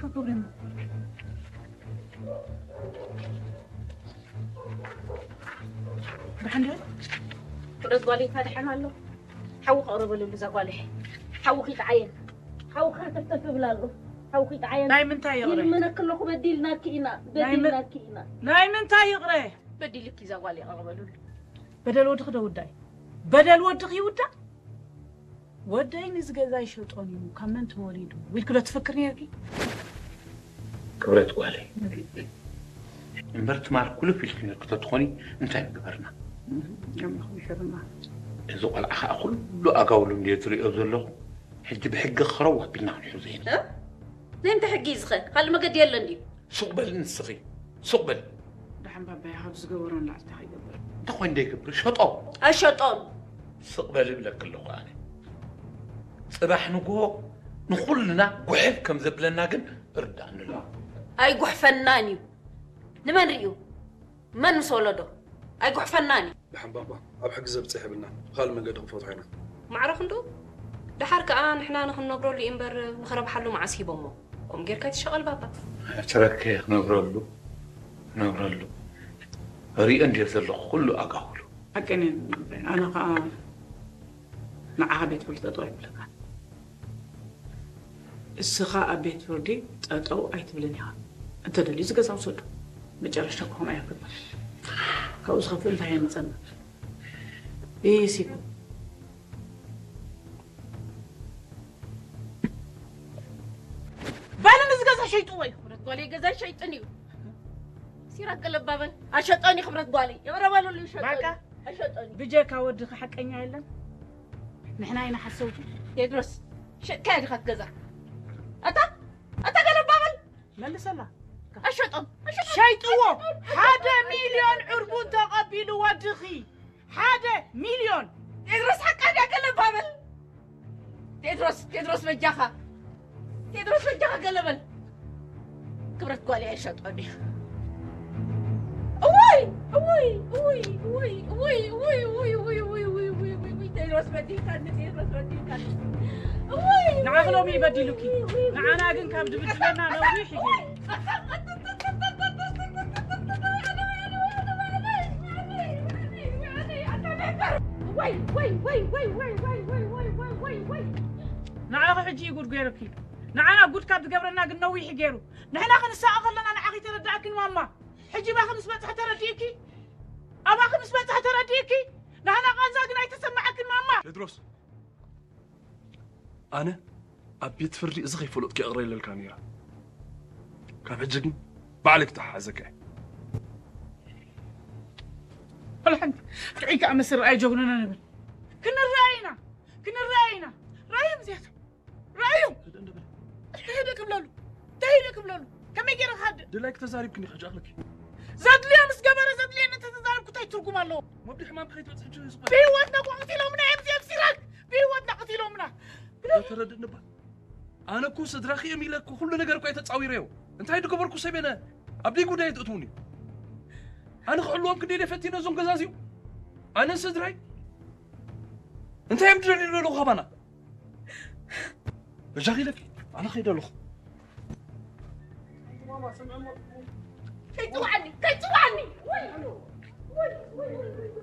ክብሪ እሞ። ደሓን ዶ? ክብረት ጓለይ፣ እንታይ ደሓን ኣሎ? ሓዊ ከቕርበለሉ እዛ ጓለይ። ሓዊ ኺጥዓየን። ሓዊ ኸተፍተፍ ይብል ኣሎ። ሓዊ ኺጥዓየን። ናይ ምንታይ ይቕረ? ይልምነኪ ኣለኹ፣ በዲልናኪ ኢና፣ ናይ ምን-፣ በዲልናኪ ኢና። ናይ ምንታይ ይቕረ? በዲልኪ እዛ ጓለይ፣ ቀቕበሉሉ። በደል ወድኺ ዶ ውዳእ? በደል ወድኺ ይውዳእ? ወደይ ንዚ ገዛ ይሸጦን እዩ፣ ካብ መን ተወሊዱ? ኢልኪ ዶ ትፍክሪ ነይርኪ? ክብረት ጓለይ። እምበር ትማል ኩልፍ ኢልኪ ነይርኪ ተትኾኒ እንታይ ምገበርና? ኣምላኽ ይሕብና። እዚ ቆልዓ ኸኣ ኩሉ ኣጋውሉ እንድየ ዝሪኦ ዘለኹ። ሕጂ ብሕጊ ኸረው ኣቢልና ክንሕዞ ኢና። እ? ናይ ምንታይ ሕጊ እዩ ዝኸ? ካልእ መገዲ የለን ድዩ? ሱቕ በሊ ንስኺ። ሱቕ በሊ። ደሓን ባባይ ካብ ዝገበሮ ንላዕሊ እንታይ ይገብር? እንታይ ኮይኑ ደይገብር? ሸጦ። ኣይሸጦን። ስቕ በሊ እብለኪ ኣለኹ ኣነ። ጽባሕ ንግሆ ንኹልና ጉሕፍ ከም ዘብለና ግን እርዳእኒ ኣሎ። ኣይጉሕፈናን እዩ። ንመን ርእዩ? መን ምስ ወለዶ? ኣይጉሕፈናን እዩ። ደሓን ባባ፣ ኣብ ሕጊ ዘብጽሕ የብልና። ብኻልእ መንገዲ ክንፈትሖ ኢና። ማዕረ ክንዱ፣ ደሓር ከኣ ንሕና ንኽንነብረሉ እዩ እምበር ንኽረብሓሉ መዓስ ሂቦሞ? ከምኡ ጌርካ ኣይትሻቐል ባባ። ትረከ ክነብረሉ፣ ክነብረሉ። ሪኦ እንድየ ዘለኹ ኩሉ ኣጋውሉ። ሓቀን እየን። ኣነ ኸኣ ንዓኻ ቤት ፍርዲ ጠጠው ኣይብለካን። እስኻ ኣብ ቤት ፍርዲ ጠጠው ኣይትብልን ኢኻ። እንተደልዩ እዚ ገዛ ውሰዱ። መጨረሽታ ክኾን ኣይክብል። ካብኡ ዝኸፍእ እንታይ የምጸና? ኢሲኮ። በል ንዚ ገዛ ሸይጥዎ እዩ። ክብረት ጓለይ፣ ገዛ ሸይጥን እዩ። ሲራክ ገለባበል። ኣሸጠን እዩ ክብረት ጓለይ። ይቕረ በሉሉ፣ ይሸጠን በቃ። እዩ። ኣሸጠን እዩ። ብጀካ ወድኺ ሓቀኛ የለን። ንሕና ኢና ሓሰውቲ። ቴድሮስ፣ ሸጥካያ ዲኻ እቲ ገዛ? ኣታ፣ ኣታ ገለባበል። መልሰላ። ኣሸጦም፣ ኣሸጦም። ሸይጥዎ። ሓደ ሚልዮን ዕርቡን ተቐቢሉ ወድኺ። ሓደ ሚልዮን። ቴድሮስ ሓቃ ድያ ገለባበል። ቴድሮስ፣ ቴድሮስ በጃኻ። ቴድሮስ በጃኻ ገለበል። ክብረት ጓለይ ኣይሸጦን እዩ። እወይ፣ እወይ፣ እወይ፣ እወይ፣ እወይ፣ እወይ፣ እወይ፣ እወይ፣ እወይ፣ እወይ፣ እወይ፣ እወይ፣ እወይ፣ ቴድሮስ በዲልካኒ፣ ቴድሮስ በዲልካኒ። እወይ፣ ንዓኺ ሎሚ እወይ፣ ይበዲሉኪ። እወይ፣ እወይ፣ ንዓና እወይ፣ ግን ካብ እወይ። ድብድበና ነዊሕ እዩ። እወይ። ንዓኺ ሕጂ እዩ ጉድ ገይሩኪ። ንዓና ጉድ ካብ ዝገብረና ግን ነዊሕ እዩ ገይሩ። ንሕና ክንሳቐ ከለና ንዓኺ ተረዳእክን ማማ። ሕጂ ባኺ ምስ በጽሐ ተረዲእኪ? ኣባኺ ምስ በጽሐ ተረዲእኪ? ናህና ቃንዛ ግን ኣይተሰማዓክን ማማ። ቴድሮስ፣ ኣነ ኣብ ቤት ፍርዲ እዚ ከይፈለጥኩ ይቕረ ኢለልካ ነይረ። ካብ ሕጂ ግን ባዕለይ ክተሓሓዘካ እየ። ወላ ሓንቲ ርኢካ ኣመስል ርኣይ ጀግኑና ንብል። ክንረኣይ ኢና፣ ክንረኣይ ኢና። ርኣዮም እዚኣቶም፣ ርኣዮም። እንታይ ደ ክብለሉ? እንታይ ደ ክብለሉ? ከመይ ገይረ ክሃድእ? ድላይክ ተዛሪብክኒ ሕጂ ኣኽለኪ። ዘድልዮ ምስ ገበረ ዘድልየኒ እንተተዛሪብኩ እንታይ ትርጉም ኣለዎ? መብዲ ሕማም ከይትበጽሕ ሕጂ እዩ ዝኽእል። ብህይወትና እኮ ቀቲሎምና እዮም እዚኦም ሲራክ። ብህይወትና ቀቲሎምና። ተረድእኒ እባ። ኣነ እኮ ስድራኺ እዮም ኢለ እኮ ኩሉ ነገር እኮ እየ ተጻዊረዮ። እንታይ ዝገበርኩ ሰብ እየ? ኣብ ደይ ጉዳይ ትእትውኒ። ኣነ ክሕልዎም ክንደይ እየ ፈቲነ እዞም ገዛዚኡ። ኣነ ስድራይ እንታይ እዮም ዝደልዩ ዘለዉ ካባና? በጃኺ ኢለኪ፣ ኣነ ከይደ ኣለኹ። ከይጽውዓኒ፣ ከይጽውዓኒ። ወይ፣ ወይ፣ ወይ፣ ወይ፣ ወይ።